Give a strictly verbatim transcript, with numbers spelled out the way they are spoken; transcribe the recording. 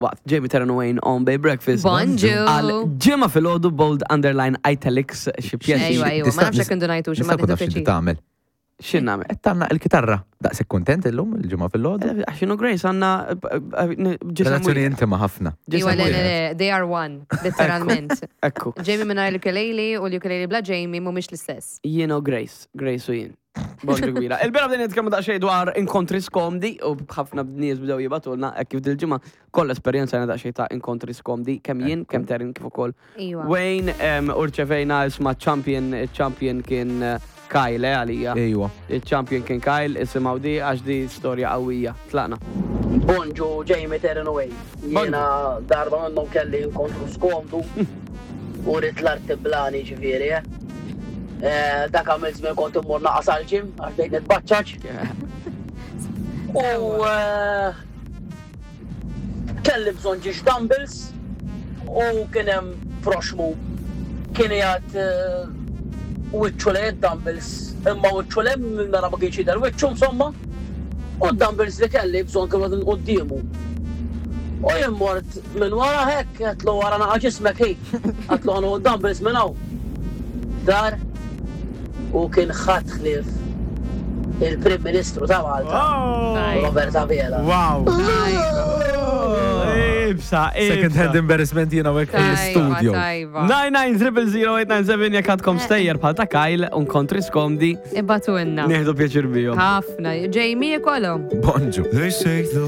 Waqt Jamie Taryn Wayne on Bay Breakfast. Bonġu. Għal ġimgħa filgħodu, bold, underline, italics, xi pjaċir. Ejwa, ejwa, ma nafx jekk indunajtu xi ma Nista' nkun naf nieħdu x'inti pjaċir. tagħmel. X'in nagħmel? Qed tgħannaq il-kitarra. Daqshekk kuntent illum il-ġimgħa filgħodu. Għax inhu Grace għandna Relazzjoni intima ħafna. Iwa, le, le, le, they are one, literalment. Ekku. Jamie mingħajr l-ukulele u l-ukulele bla Jamie mhumiex l-istess. Jien u Grace, Grace u jien. Bonġu kbira. Il-bira bdejna nitkellmu daqsxejn dwar inkontri skomdi u ħafna nies bdew jibagħtulna hekk kif dil-ġimgħa kollha esperjenza daqsxejn ta' inkontri skomdi, kemm jien, kemm Terin, kif ukoll Iwa. Wayne. em, u rċevejna, isma', champion, champion kien eh, Kyle eh, għalija. Ejwa. Il-champion kien Kyle, isimgħu di għax di storja qawwija. Tlaqna. Bonġu Jamie, Terin, Wayne. Jiena darba minnhom kelli inkontru skomdu u rrid l-arti blani ġifieri, eh. Eh, Dak għamil żmien kont immur naqas għal-gym għax bdejt nitbaċċaċ. U eh, kelli bżonn ġiex dumbbells u kien hemm proxmu kien jgħat wiċċu lejn dumbbells, imma wiċċu lejn minn ma kienx jidher wiċċu insomma, u d-dumbbells li kelli bżonn kienu qegħdin quddiemu. U jien mort minn wara hekk, għedtlu, "Wara naqa ġismek hi." Għedtlu, "Ħa nieħu dumbbells minn hawn." Dar u kien ħadd ħlief il-Prim Ministru ta' Malta, Robert Abela. Wow. Ibsa, Second hand embarrassment jiena hekk fil-studio. Tajba. nine nine zero zero eight nine seven jekk għandkom stejjer bħal ta' Kyle, inkontri skomdi, Ibagħtulna. nieħdu pjaċir bihom. Ħafna. Jamie kolom. Bonġu. They say the